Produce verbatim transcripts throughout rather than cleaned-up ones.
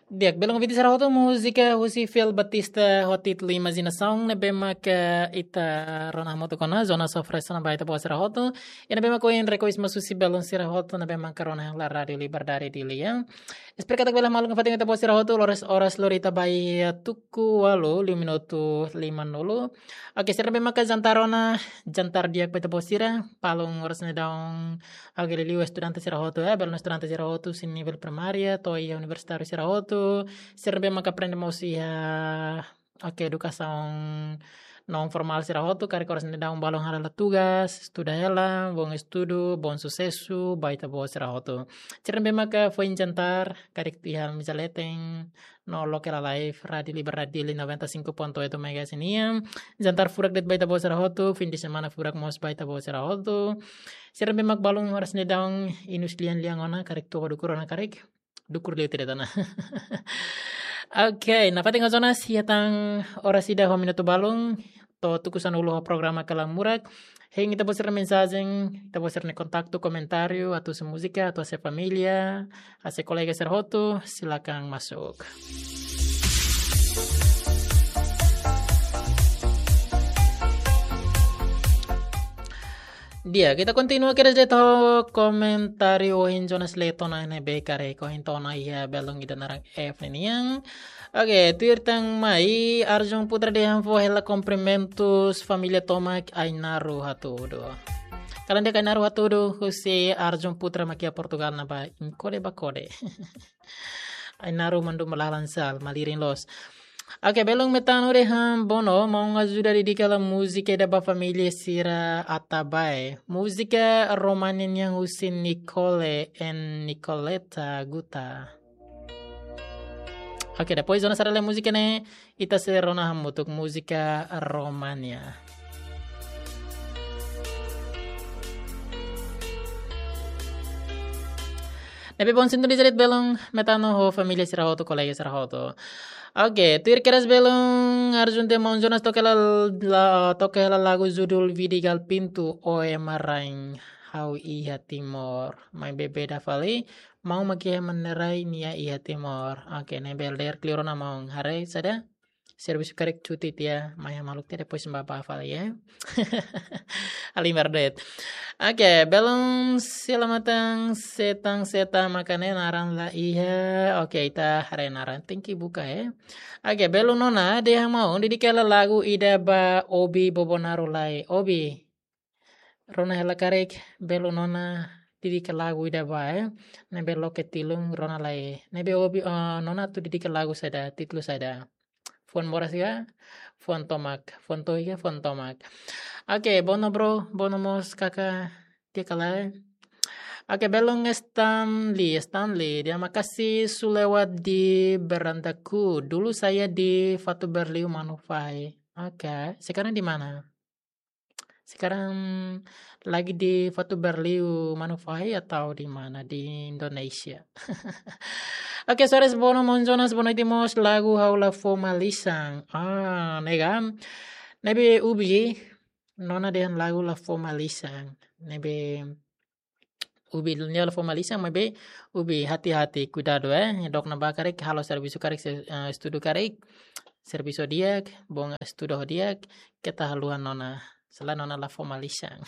Di'ak, belun ouvinte sira hotu, múzika husi Fel Batista ho títulu Imajinasaun, ne'ebé maka ita rona hamutuk ona, Jonas oferese ona ba ita-boot sira hotu. I ne'ebé maka ohin rekohis mós husi belun sira hotu, ne'ebé maka rona iha Rádiu Liberdade Dili, ya. Espera katak bele maluk fatin ita-boot sira hotu, oras, oras lori ita ba iha tuku ualu, liu minutu limanulu. Oke, sira ne'ebé maka jantar ona, jantar di'ak ba ita-boot sira, balun oras ne'e daudaun. Oke, liuliu estudante sira hotu, ya, belun estudante sira hotu, husi nivel primária, to'o iha universitáriu sira hotu, sira ne'ebé maka aprende mós iha, oke, edukasaun non formál sira hotu, karik oras ne'e daudaun balun hala'o tugas, estuda hela, bom estudu, bom susesu ba ita-boot sira hotu. Sira ne'ebé maka foin jantar, karik iha meza leten, no loke la live, Rádiu Liberdade Dili noventa e cinco ponto oito megahertz nian. Jantar furak de'it ba ita-boot sira hotu, fim de semana furak mós ba ita-boot sira hotu. Sira ne'ebé mak balun oras ne'e daudaun inus lian-lian ona, karik toba dukur ona karik. Dukur liu tidak tanah. Oke, nafatin Jonas, iha tan oras ida ho minutu balun, to'o tuku sanulu ho programa Kalan Murak. Hein ita-boot sira-nia mensajen, ita-boot sira-nia kontaktu, komentáriu, atu husi múzika, atu husi família, husi kolega sira hotu, silakan masuk. Di'ak, ita kontinua kedas de'it ho komentáriu ohin Jonas lee tiha ona ne'ebé karik ohin tiha ona iha belun ida naran F nian. Oke, tuir tan mai, Arjun Putra dehan fó hela kumprimentus família tomak, Ainaro hatudu. Kalan di'ak, Ainaro hatudu, husi Arjun Putra mak iha Portugal ne'ebá inkode bakode. Ainaro mandu malalan sal, malirin loos. Oke, belun Metano dehan Bono, maun ajuda dedika hela múzika ida ba família sira Atabae. Múzika Romania nian husi Nicole and Nicoletta Guta. Oke, depois Jonas haree lee múzika ne'e, ita sei rona hamutuk múzika Romania. Ne'ebé bom sintoniza de'it belun Metano ho família sira hotu, kolega sira hotu. Oke, tuir kedas belun Arjun dehan maun Jonas toke hela la, toke hela lagu judul Vidi Gal Pintu, Oe Marain, Ha'u Iha Timor. Maibé beda fali, maun mak iha Manerai, nia iha Timor. Oke, ne'ebé lee kleur ona maun. Haree saida? Servisu karik cuti tiha, mai iha maluk tiha, depois bá bá fali, ya. Halimar de'it. Oke, belun selamatang setang setang maka ne'e naran la iha. Oke, ita haree naran, tenke buka, ya. Oke, belun nona dehan maun dedika hela lagu ida ba Obi Bobonaro lai. Obi, rona hela karik, belun nona dedika lagu ida ba, eh. Ne'ebé loke tilun rona lai. Ne'ebé Obi, eh, nona atu dedika lagu saida, títulu saida. Fuan moras ka, fuan tomak, fuan tohi ka, fuan tomak. Oke, Bono bro, Bono mós kaka, di'ak ka lae. Oke, belun Stanley, Stanley, dehan makasih su lewat di berandaku. Dulu saya di Fatuberliu Manufahi. Oke, sekarang di mana? Sekarang lagi di Fatuberliu Manufahi atau di mana? Di Indonesia. Oke, sore Bono, maun Jonas, boa noite mós, lagu Ha'u La Fó Malisan. Ah, ne'e ka. Ne'ebé Ubi, nona dehan lagu La Fó Malisan. Ne'ebé Ubi nia la fó malisan, maibé Ubi hati-hati, kuidadu, eh. Dook ne'ebá karik, halo servisu karik, se-, eh, estudu karik, servisu di'ak, bom estudu di'ak, keta haluha nona. Selae nona la fó malisan.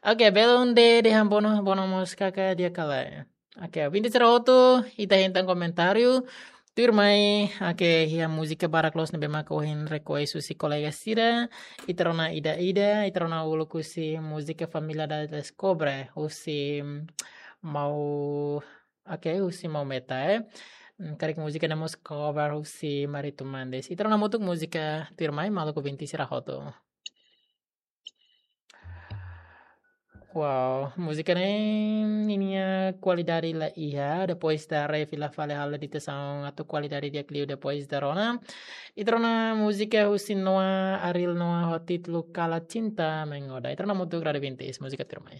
Oke, belun dehan Bono, Bono mós kaka di'ak ka lae. Oke, ouvinte sira hotu, ita hein tan komentáriu. Tuirmai, oke, iha múzika barak loos ne'ebé maka ohin rekoes husi kolega sira. Ita rona ida-ida, ita rona uluk husi múzika Família da Descobre, husi Mau, oke, husi Mau Meta, eh. Hmm, karik múzika ne'e mós cover husi Marito Mendes. Ita rona hamutuk múzika tuirmai, maluk ouvinte sira hotu. Wow, múzika ne'e ninia kualidade la iha, depois ita refila fali halo editasaun atu kualidade di'ak liu, depois ita rona. Ita rona múzika husi Noah, Ariel Noah, ho títulu Kala Cinta Menggoda. Ita rona hamutuk, Rádio Vintis, múzika tuirmai.